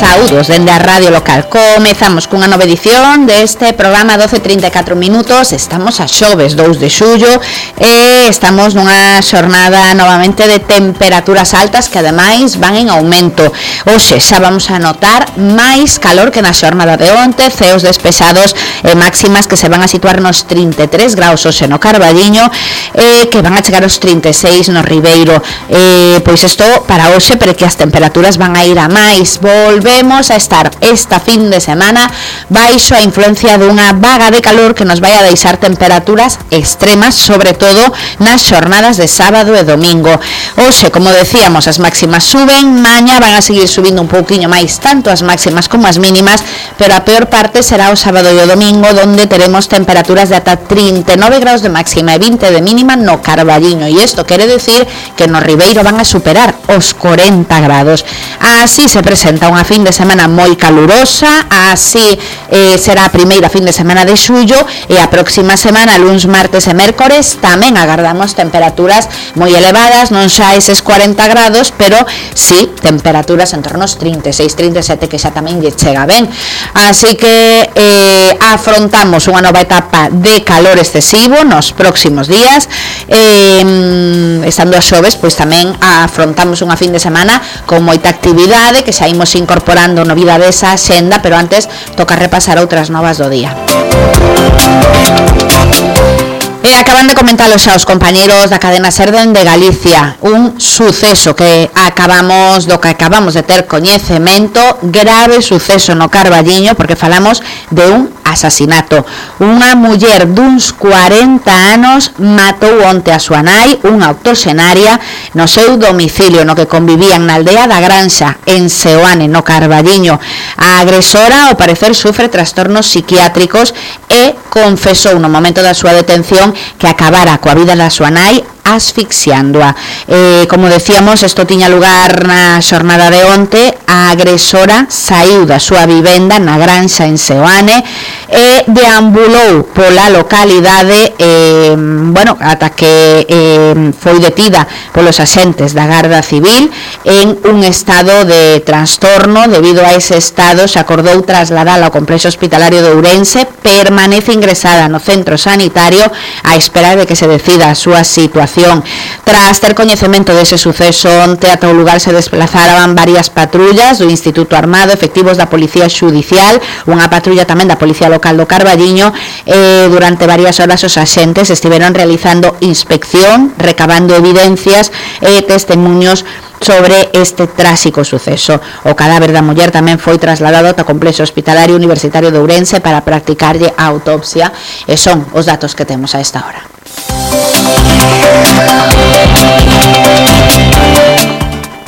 Saúdos dende a radio local. Comezamos cunha nova edición deste programa 12:34 minutos. Estamos a xoves 2 de xullo e estamos nunha xornada novamente de temperaturas altas que ademais van en aumento. Hoxe xa vamos a notar máis calor que na xornada de onte, ceos despexados e máximas que se van a situar nos 33 graus hoxe no Carballiño e que van a chegar aos 36 no Ribeiro. Pois isto para hoxe, pero que as temperaturas van a ir a máis. Volvemos a estar esta fin de semana baixo a influencia dunha vaga de calor que nos vai a deixar temperaturas extremas, sobre todo nas xornadas de sábado e domingo. Hoxe, como decíamos, as máximas suben, maña van a seguir subindo un pouquiño máis, tanto as máximas como as mínimas, pero a peor parte será o sábado e o domingo, donde teremos temperaturas de ata 39 graus de máxima e 20 de mínima no Carballiño, e isto quere decir que no Ribeiro van a superar os 40 grados. Así se presenta unha fin de semana moi calurosa, así será a primeira fin de semana de xullo, e a próxima semana, luns, martes e mércores, tamén agardamos temperaturas moi elevadas, non xa eses 40 grados, pero sí temperaturas en torno aos 36, 37, que xa tamén lle chega ben. Así que afrontamos unha nova etapa de calor excesivo nos próximos días, estando a xoves, pois tamén afrontamos unha fin de semana con moita actividade que xa imos incorporando novidades á xenda, pero antes toca repasar outras novas do día. E acaban de comentarlo xa os compañeros da cadena SER de Galicia, un suceso que acabamos de ter coñecemento, grave suceso no Carballiño, porque falamos de un asasinato. Unha muller duns 40 anos matou onte a súa nai, unha octoxenaria, no seu domicilio no que convivían na aldea da Granxa, en Seoane, no Carballiño. A agresora, ao parecer, sufre trastornos psiquiátricos e confesou no momento da súa detención que acabara coa vida da súa nai asfixiándoa. Como decíamos, isto tiña lugar na xornada de onte. A agresora saiu da súa vivenda na Granxa en Seoane e deambulou pola localidade ata que foi detida polos axentes da Garda Civil en un estado de trastorno. Debido a ese estado, se acordou trasladala ao complexo hospitalario de Ourense. Permanece ingresada no centro sanitario a espera de que se decida a súa situación. Tras ter coñecemento dese suceso, onte ata o lugar se desplazaban varias patrullas do Instituto Armado, efectivos da Policía Xudicial, unha patrulla tamén da Policía Local do Carballiño. Durante varias horas os axentes estiveron realizando inspección, recabando evidencias e testemunhos sobre este tráxico suceso. O cadáver da muller tamén foi trasladado ao complexo hospitalario universitario de Ourense para practicarlle a autopsia, e son os datos que temos a esta hora.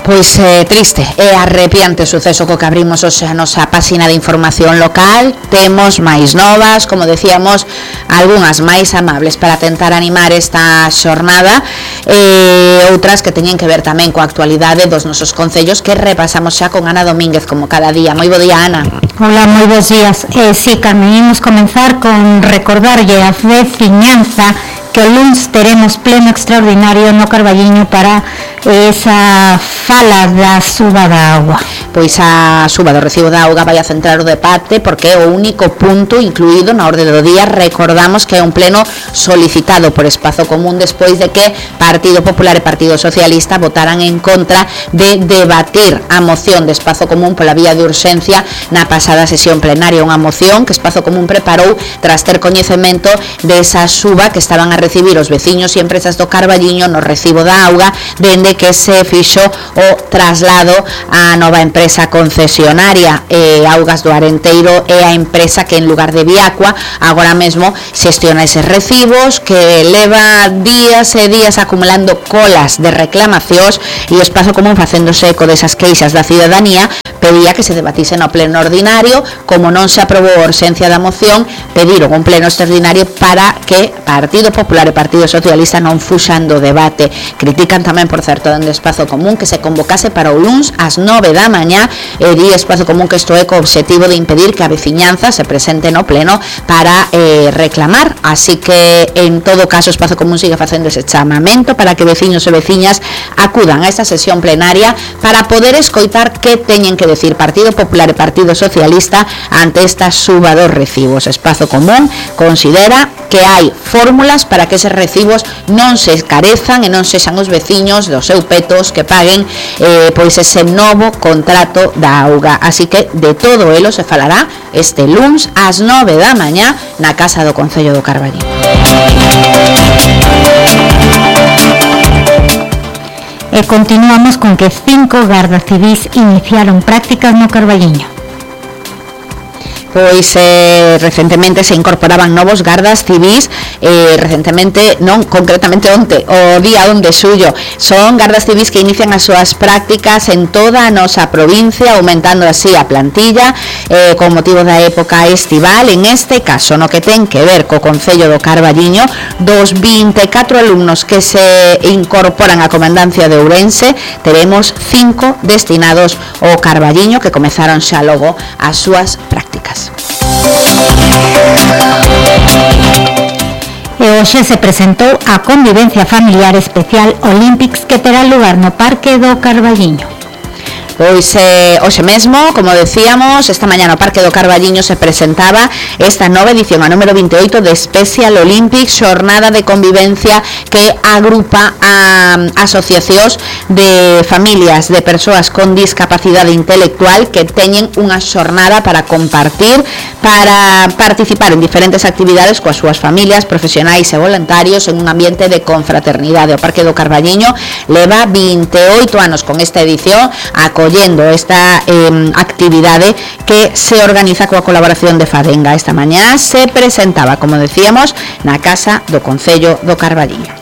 Pois triste e arrepiante o suceso co que abrimos hoxe a nosa páxina de información local. Temos máis novas, como decíamos, algunhas máis amables para tentar animar esta xornada, e outras que teñen que ver tamén coa actualidade dos nosos concellos, que repasamos xa con Ana Domínguez como cada día. Moi bo día, Ana. Hola, moi bons días. Sí, Carmen, imos comenzar con recordarlle a veciñanza que o luns teremos pleno extraordinario no Carballiño para esa fala da suba da auga. Pois a suba do recibo da auga vai a centrar o debate, porque é o único punto incluído na orde do día. Recordamos que é un pleno solicitado por Espazo Común despois de que Partido Popular e Partido Socialista votaran en contra de debatir a moción de Espazo Común pola vía de urxencia na pasada sesión plenaria, unha moción que Espazo Común preparou tras ter coñecemento desa suba que estaban a recibir os veciños e empresas do Carballiño no recibo da auga dende que se fixo o traslado á nova empresa concesionaria. Augas do Arenteiro é a empresa que en lugar de Viacua agora mesmo xestiona eses recibos, que leva días e días acumulando colas de reclamacións, e o Espazo Común, facéndose eco desas queixas da cidadanía, pedía que se debatise no pleno ordinario. Como non se aprobou a urxencia da moción, pediron un pleno extraordinario para que Partido Popular e Partido Socialista non fuxan do debate. Critican tamén, por certo, alerta dende Espazo Común que se convocase para o luns ás 9 da mañá, e di Espazo Común que isto é co obxectivo de impedir que a veciñanza se presente no pleno para reclamar, así que en todo caso Espazo Común sigue facendo ese chamamento para que veciños e veciñas acudan a esta sesión plenaria para poder escoitar que teñen que decir Partido Popular e Partido Socialista ante esta suba dos recibos. Espazo Común considera que hai fórmulas para que eses recibos non se escarezan e non sexan os veciños dos seus petos que paguen pois ese novo contrato da auga. Así que de todo elo se falará este luns ás 9 da mañá na Casa do Concello do Carballiño. E continuamos con que 5 gardas civís iniciaron prácticas no Carballiño. Pois recentemente se incorporaban novos gardas civís, recentemente, non, concretamente onte, o día 1 de xullo. Son gardas civís que inician as súas prácticas en toda a nosa provincia, aumentando así a plantilla con motivo da época estival. En este caso, no que ten que ver co Concello do Carballiño, dos 24 alumnos que se incorporan á Comandancia de Ourense, teremos 5 destinados ao Carballiño que comezaron xa logo as súas prácticas. E hoxe se presentou a Convivencia Familiar Especial Olympics que terá lugar no Parque do Carballiño. Pois hoxe mesmo, como decíamos, esta mañá no Parque do Carballiño se presentaba esta nova edición, a número 28 de Special Olympics, xornada de convivencia que agrupa a asociacións de familias de persoas con discapacidade intelectual que teñen unha xornada para compartir, para participar en diferentes actividades coas súas familias, profesionais e voluntarios en un ambiente de confraternidade. O Parque do Carballiño leva 28 anos con esta edición acollendo esta actividade que se organiza coa colaboración de Fadenga. Esta mañá se presentaba, como decíamos, na Casa do Concello do Carballiño.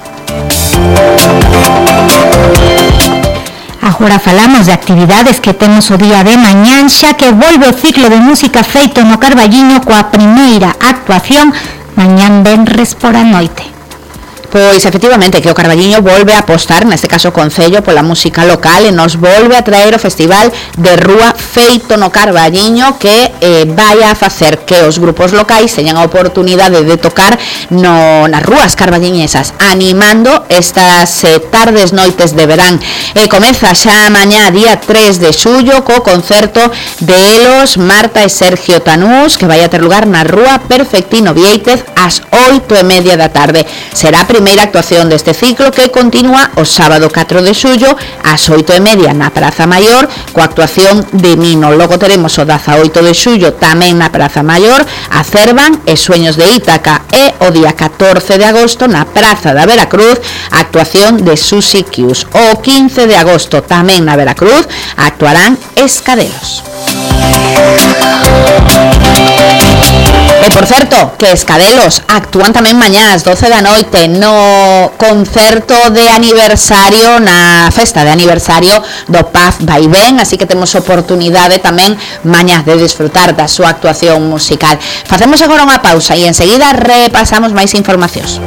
Agora falamos de actividades que temos o día de mañán, xa que volve o ciclo de música feito no Carballiño coa primeira actuación mañán venres por a noite. Pois efectivamente que o Carballiño volve a apostar, neste caso o Concello, pola música local e nos volve a traer o Festival de Rúa feito no Carballiño que vai a facer que os grupos locais teñan a oportunidade de tocar nas rúas carballiñesas, animando estas tardes noites de verán. Comeza xa mañá día 3 de xullo co concerto de Elos, Marta e Sergio Tanús que vai a ter lugar na Rúa Perfectino Viéitez ás 8:30 da tarde. Será a primeira actuación deste ciclo que continúa o sábado 4 de xullo ás 8:30 na Praza Maior coa actuación de Mino. Logo teremos o 18 de xullo tamén na Praza Maior a Cervan e Sueños de Ítaca e o día 14 de agosto na Praza da Veracruz a actuación de Susi Kius. O 15 de agosto tamén na Veracruz actuarán Escadelos. E por certo, que Escadelos actúan tamén mañá ás 12 da noite no concerto de aniversario, na festa de aniversario do Paz Vaivén, así que temos oportunidade tamén mañá de disfrutar da súa actuación musical. Facemos agora unha pausa e enseguida repasamos máis informacións.